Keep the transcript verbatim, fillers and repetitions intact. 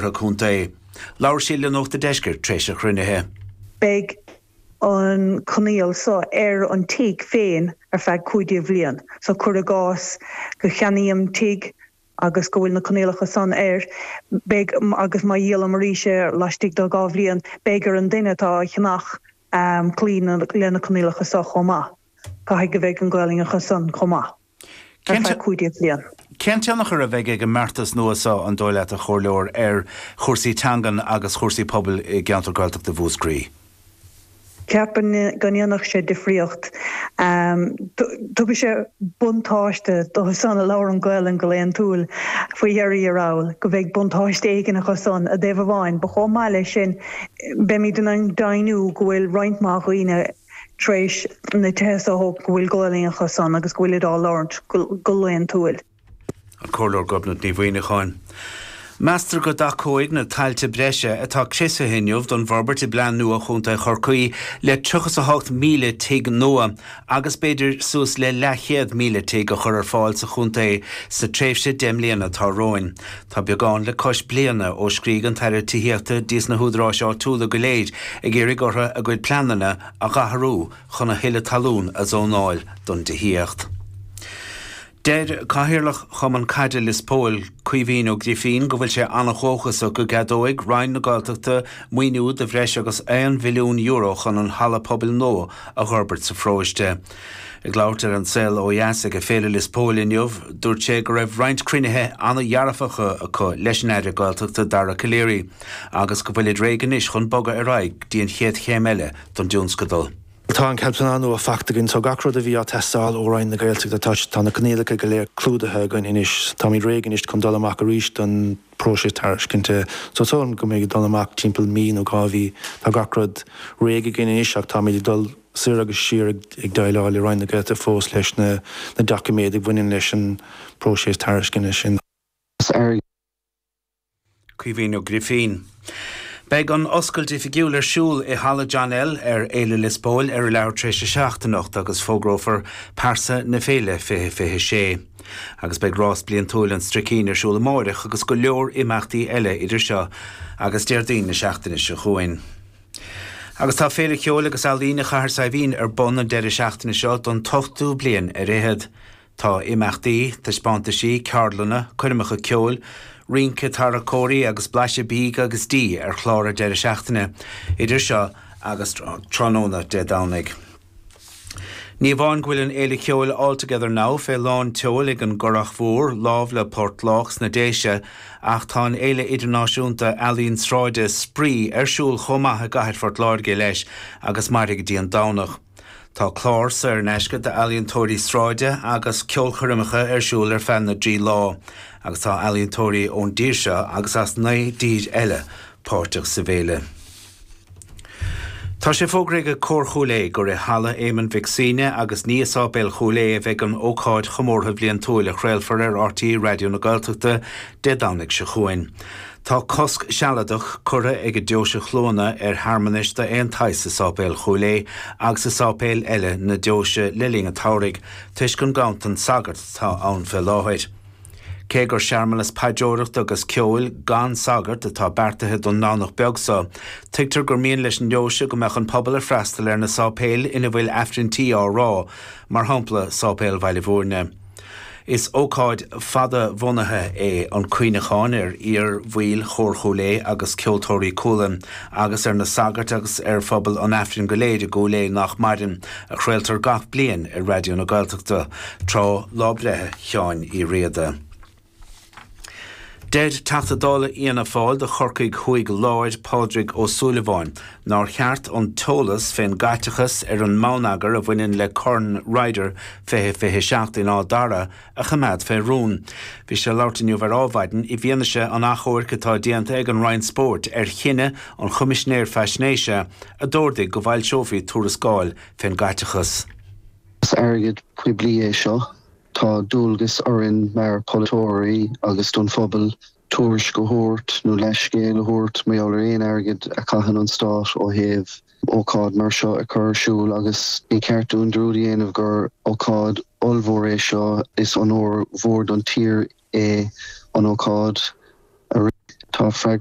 Contae. Labhair sí le Nuacht an Deiscirt tar éis an chruinnithe. Beidh an coinníoll so ar an tigh féin ar feadh cúig déag bhliain. So cuir i gcás go cheannaím tigh agus go bhfuil na coinníollacha san air, beidh agus má dhíolaim arís é laistigh de dhá bhliain, beidh ar an duine atá á cheannach um, cloí le na coinníollacha so chomh maith. Caithfidh go bheidh an Ghaelainn acu san chomh maith. Ar feadh cúig déag bhliain. Cén tionchar a bheidh ag an mbeartas nua seo an dóigh leat a chomhairleoir ar chúrsaí teangan agus chúrsaí pobail i gceantar Gaeltachta Mhúscraí? Ceapaim go ndéanfadh sé difríocht. Tugann sé buntáiste dóibh san a labhrann Gaelainn go laethúil faoi dheireadh thiar, go bheidh buntáiste éigin acu san i dtaobh amháin, ba chomh maith leis sin beimid in ann deimhniú go bhfuil roinnt mhaith dhaoine tar éis na tithe a thógáil go bhfuil Gaelainn acu san agus go bhfuil á labhairt go laethúil. An Comhairleoir Gobnait Ní Mhuimhneacháin. Meastar go dtacóidh na tailte breise atá criosaithe inniu don bhforbairt i bplean nua Chontae Chorcaí le tríocha a hocht míle tigh nua agus b'fhéidir suas le leathchéad míle tigh a chur ar fáil sa chontae sa tréimhse deich mbliana atá romhainn. Tá beagán le cois bliana ó scrígh an tAire Tithíochta dtí na húdaráis áitiúla go léir ag iarraidh orthu a gcuid pleananna a athrú chun a thuilleadh talún a zónáil don tithíocht. Deir Cathaoirleach Chumann Caide Lios Póil Caoimhín Ó Grifín go bhfuil sé an-dóchasach go gceadóidh Roinn na Gaeltachta maoiniú de bhreis agus aon mhilliún euro chun an halla pobail nua a fhorbairt sa pharóiste. Ag labhairt ar An Saol Ó Dheas ag Féile Lios Póil inniu, dúirt sé go raibh roinnt cruinnithe an-dhearfacha acu leis an Aire Gaeltachta Dara Calleary, agus go bhfuilid réidh anois chun bogadh ar aghaidh dtí an chéad chéim eile don tionscadal. Tá an plean nua faighte againn so gach rud a bhí ag teastáil ó Roinn na Gaeltachta tá tá na coinníollacha go léir clúdaithe againn anois Táimid réidh anois chun dul amach arís don próiseas tairiscinte so so go mbeidh dul amach timpeall mí nó dhá mhí tá gach rud réidh againn anois ach táimid ag dul soir agus siar ag déileáil le Roinn na Gaeltachta fós leis na na doiciméid a bhaineann leis an próiseas tairiscinte sin. Caoimhín Ó Grifín. Beidh an oscailt oifigiúil ar siúl i Halla John L ar Fhéile Lios Póil ar a leathuair tar éis a seacht anocht agus fógrófar pearsa na féile fiche fiche sé. Agus beidh rás bliantúil an Stricín ar siúl amárach agus go leor imeachtaí eile idir seo agus Déardaoin na seachtaine seo chugainn. Agus tá Féile Ceoil agus Ealaíne Chathair Saidhbhín ar bun an deireadh seachtaine seo don ochtú bliain ar fhichead. Tá imeachtaí, taispeántaisí, ceardlanna, coirmeacha ceoil, rince tarracóirí agus blaiseadh bídh agus dí ar chlár an deireadh seachtaine, idir seo agus tráthnóna Dé Domhnaigh. Ní amháin go bhfuil an Fhéile Ceoil All Together Now fé lán tseoil ag an gCurrach Mhór, lámh le Port Lách sna Déise, ach tá an Fhéile Idirnáisiúnta Ealaíon Sráide Spraoi ar siúl chomh maith i gcathair Phort Láirge leis agus mairfidh go dtí an Domhnach. Tá clár saor in aisce d'ealaíontóirí sráide agus ceolchoirmeacha ar siúl ar feadh na dtrí lá, agus tá ealaíontóirí ón dtír seo agus as naoi dtír eile páirteach sa bhféile. Tá sé fógraithe ag Cór Chúil Aodha gur i Halla Éamoinn Mhic Suibhne agus ní i Sáipéal Chúil Aodha a bheidh an ócáid chomórtha bhliantúil a chraolfar ar R T É Raidió na Gaeltachta Dé Domhnaigh seo chugainn. Tá cosc sealadach curtha ag Deoise Chluana ar shearmanais d'aon tsaghas i Sáipéal Chúil Aodha agus i sáipéil eile na deoise le linn an tsamhraidh, toisc an ganntan sagart atá ann fé láthair. Cé gur searmanas paidreoireachta agus ceoil gan sagart atá beartaithe don nDomhnach beag seo, tuigtear gur mian leis an ndeoise go mbeadh an pobal ag freastal ar na sáipéil ina bhfuil Aifrinntí á rá, mar shampla Sáipéal Bhaile Bhúirne. Is ócáid fada-bhunaithe é an cuimhneachán ar iar-bhaill Chór Chúil Aodha agus Ceoltóirí Cualann, agus ar na sagairt agus ar phobal an Aifrinn go léir i gCúil Aodha nach maireann, a chraoltar gach bliain ar Raidió na Gaeltachta tráth lá breithe Sheáin Uí Riada. Deir Teachta Dála Fhianna Fáil do Chorcaigh Thuaidh Láir Pádraig Ó Súilleabháin nár cheart an t-eolas fén gcaiteachas ar an mbonneagar a bhaineann le Corn Ryder fiche fiche seacht in Áth Dara a choimeád fé rún. Bhí sé ag labhairt inniu ar Adhmhaidin i bhfianaise an achomhairc atá déanta ag an Roinn Spóirt ar chinneadh an Choimisinéir Faisnéise a d'ordaigh go bhfoilseofaí tuarascáil fén gcaiteachas. Is airgead poiblí é seo. Tá dualgas orainn mar pholaiteoirí agus don phobal tuairisc a thabhairt nó leithscéal a thabhairt mar gheall ar aon airgead a chaitheann an stát ó thaobh ócáid mar seo a chur ar siúl agus ní ceart dúinn dearúd a dhéanamh gur ócáid ollmhór é seo. Is onóir mhór don tír é an ócáid a rith. Tá freagracht